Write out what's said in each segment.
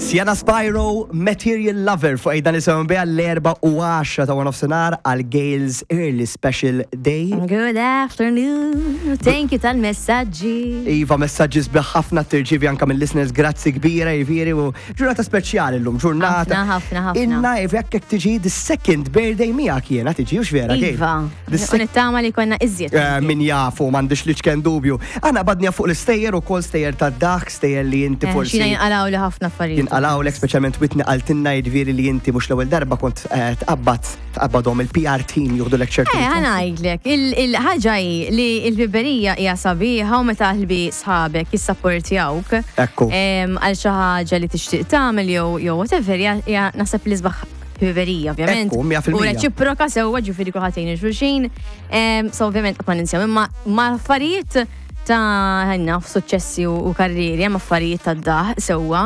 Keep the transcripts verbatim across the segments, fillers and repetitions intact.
Sienna Spyro, Material Lover, fuq dan nisimgħu biha l-erba u għaxra ta' nofsinhar għal Gail's Early Special Day. Good afternoon. Thank you tal-messagġi. Iva, messaġġi sbieħ ħafna tirċievi anka mill listeners, grazzi kbira, jiġifieri, u ġurnata speċjali llum, ġurnata. Ħafna, ħafna, ħafna. Inna, jekk jekk tiġi the second birthday miegħek jiena tiġi, ux vera, Gail? Iva. The U nittama li konna iżjed. Eh, Min jafu, m'għandix l-iċken dubju. Aħna badnija fuq l-istejjer u kol stejjer ta' dak, stejjer li inti Eh, forsi. Xina jinqalaw li ħafna affarijiet. Jinqalawlek, speċjalment Whitney qaltilna, jiġifieri, li inti mhux l-ewwel darba kont eh, tqabbad tqabbadhom il-P R team juħdulek ċertu. Eh, ħa ngħidlek, il-ħaġa hi li il-ħbiberija hija sabiħa u meta ħbi sħabek jissapportjawk Ekku. em, għal xi ħaġa li tixtieq tagħmel jew jew whatever, hija hija naħseb li sbaħ ħbiberija, ovvjament. Ekku, mija fil-mija. U reċiproka sewwa, ġifieri kulħadd jgħin xulxin. Em, So ovvjament qatt ma ninsew, imma ma affarijiet ta' ħanna f'suċċessi u u karrieri, hemm affarijiet ta' daħ sewwa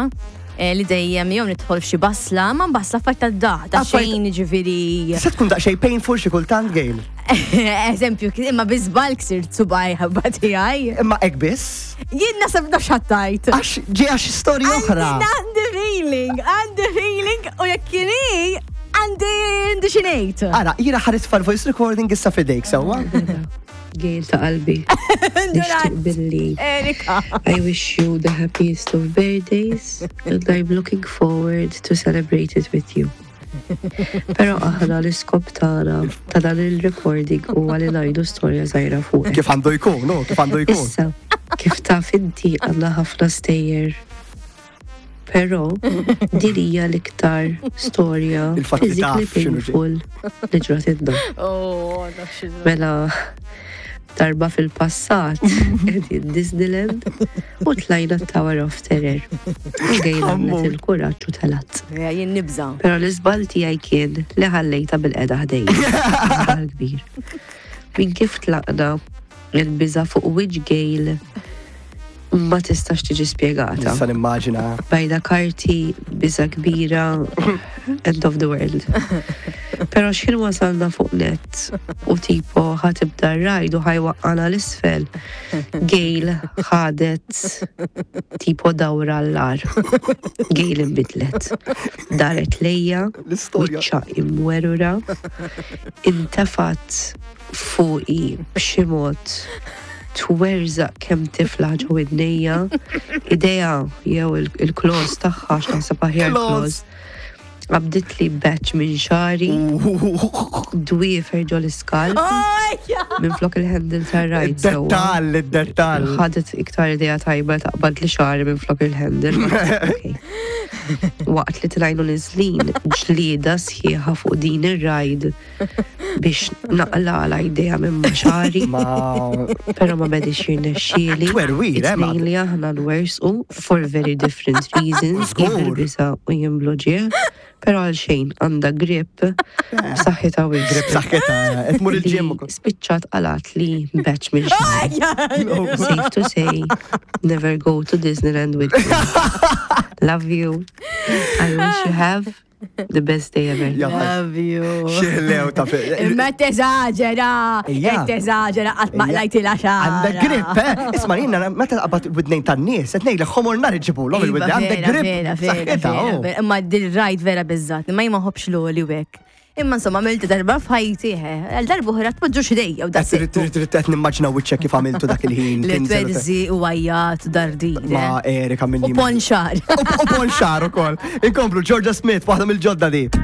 eh, li dejjem jew nidħol f'xi basla, ma basla affarijiet ta' daħ, ta' Affarijiet- xejn, ġifieri. Se tkun daqsxejn painful xi kultant, Gail. Eżempju, imma bi żball ksirt subgħaj ħabba tiegħi. Imma hekk biss. Jien nasab naf x'għedt. Għax ġi għax storja oħra. Għandi feeling, għandi feeling u jekk kieni għandi għandi xi ngħid. Ara, jiena ħares fal-voice recording issa fidejk, sewwa? Gail ta' qalbi. Nixtieq billi Erika. I wish you the happiest of birthdays and I'm looking forward to celebrate it with you. Pero aħna l-iskop tagħna ta' dan il-recording huwa li ngħidu storja żgħira fuq. Kif għandu jkun, no, kif għandu jkun. Issa, kif taf inti, għandna ħafna stejjer. Pero din hija l-iktar storja Il-fatt li taf physically x'inhu ġej. painful li ġratilna. Oh, naf xi Mela, darba fil-passat qegħdin Disneyland u tlajna Tower of Terror. U Gail għamlet il-kuraġġ u telgħet. Jien nibża. Pero l-iżball tiegħi kien li ħallejta bilqiegħda ħdejja. Żball kbir. Min kif tlaqna, il-biża fuq wiċċ Gail ma tistax tiġi spjegata. Nista' nimmaġina. Bajda karti, biża kbira, end of the world. Pero x'ħin wasalna fuq net u tipo ħa tibda r-ride u ħa jwaqqagħna 'l isfel, Gail ħadet tipo dawra l-ar. Gail imbidlet. Daret lejja, L-istorja. wiċċa imwerura, intefat fuqi b'xi mod, twerżaq kemm tifla ġo widnejja, idejha jew il- il-claws tagħha, x'naħseb aħjar Claws. claws. Qabdit li batch minn xagħri, dwiefer ġo l-iskalp, minn flok il-handle tar-ride. sewwa. Id-dettal, id-dettal. Ħadet iktar idea tajba taqbad li xagħri minn flok il-handle. Okay. Waqt li tlajna neżlin, ġlieda sħiħa fuq din ir-ride biex naqla' idejha minn ma' xagħri. Ma. Pero ma bedix jirnexxieli. Twerwir, eh, ma- It-tnejn li aħna nwerżqu for very different reasons. Żgur. Jien bil-biża u jien bl-uġigħ. Pero għal xejn, għandha grip b'saħħitha wisq. Grip saħħitha, qed tmur il-gym Li ukoll. spiċċat qalgħet li batch minn xagħri. Safe to say, never go to Disneyland with me. Love you. I wish you have the best day ever. Ja. Love you. Xieħlew ta' fi. Imma teżaġera, Ija. teżaġera, qatt ma qlajtilha xagħarha. Għandek grip, eh? Isma' jiena meta qabad widnejn tan-nies, qed ngħidlek ħomor nar iġibulhom Iva, il-widnejn, għandek vera, grip. Vera, vera, Saħħitha, vera, oh. vera. Imma dil-ride vera biżżat, imma jien ma nħobbx l-għoli u hekk. Imma insomma, għamiltu darba f'ħajti, eh, għal darba oħra tpoġġux idejja u Qed daqshekk. trid trid qed nimmaġina wiċċek kif għamiltu dak il-ħin. Li tinżel u te- twerżi u għajjat dardire. Ma Erika minn U ponxar. U ponxar ukoll. Inkomplu Georgia Smith, waħda mill-ġodda di.